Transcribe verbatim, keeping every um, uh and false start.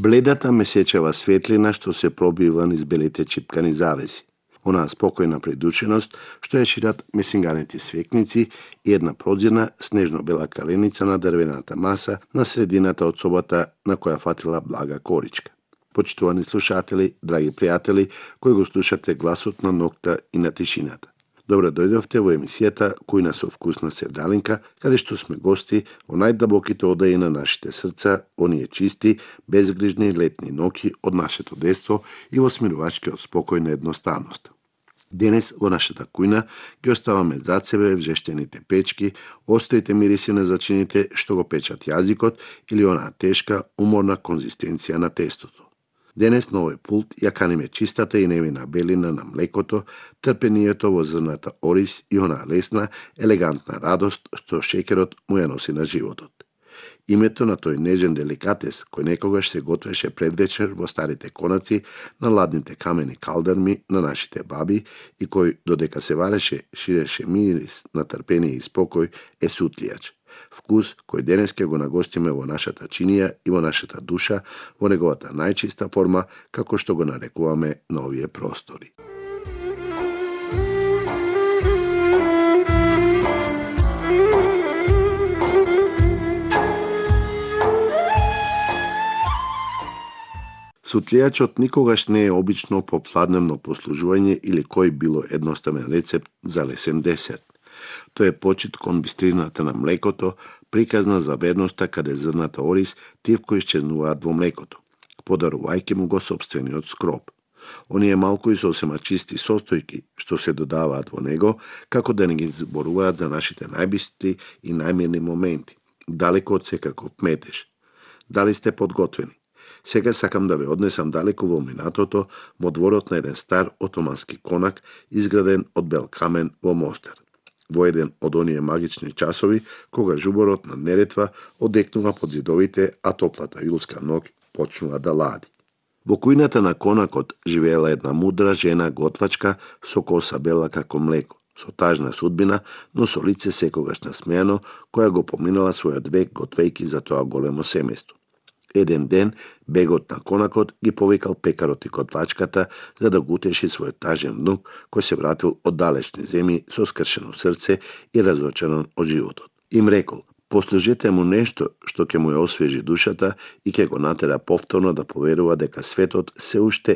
Бледата месечева светлина што се пробива низ белите чипкани завеси. Онаа спокојна предученост што ја шират месинганите свекници и една прозирна снежно-бела каленица на дрвената маса на средината од собата на која фатила блага коричка. Почитувани слушатели, драги пријатели, кои го слушате гласот на ноќта и на тишината. Добре дојдовте во емисијата Кујна со вкус на Севдалинка, каде што сме гости во најдабоките одаи на нашите срца, оние чисти, безгрижни летни ноќи од нашето детство и во смирувачкиот спокој на едноставност. Денес во нашата кујна ги оставаме зад себе вжештените печки, острите мириси на зачините што го печат јазикот или онаа тешка, уморна конзистенција на тестото. Денес на овој пулт ја каниме чистата и невина белина на млекото, трпението во зрната ориз и онаа лесна, елегантна радост што шеќерот му ја носи на животот. Името на тој нежен деликатес кој некогаш се готвеше пред вечер во старите конаци на ладните камени калдерми на нашите баби и кој додека се вареше ширеше мирис на трпение и спокој е сутлијач. Вкус кој денес ќе го нагостиме во нашата чинија и во нашата душа во неговата најчиста форма, како што го нарекуваме на овие простори. Сутлијачот никогаш не е обично попладневно послужување или кој било едноставен рецепт за лесен десерт. Тој е почит кон бистрината на млекото, приказна за верноста каде зрната ориз тивко исчезнуваат во млекото, подарувајќи му го сопствениот скроп. Оние малку и сосема чисти состојки што се додаваат во него, како да не ги зборуваат за нашите најбистри и најмирни моменти, далеко од секаков метеж. Дали сте подготвени? Сега сакам да ве однесам далеко во минатото, во дворот на еден стар отомански конак, изграден од бел камен во Мостар. Во еден од оние магични часови, кога жуборот на Неретва одекнува под зидовите, а топлата јулска ноќ почнува да лади. Во кујната на конакот живеела една мудра жена готвачка со коса бела како млеко, со тажна судбина, но со лице секогаш насмејано, која го поминала својот век готвејки за тоа големо семејство. Еден ден, бегот на конакот ги повикал пекарот и готвачката за да го утеши својот тажен внук кој се вратил од далечни земји со скршено срце и разочаран од животот. Им рекол, послужете му нешто што ќе му ја освежи душата и ќе го натера повторно да поверува дека светот се уште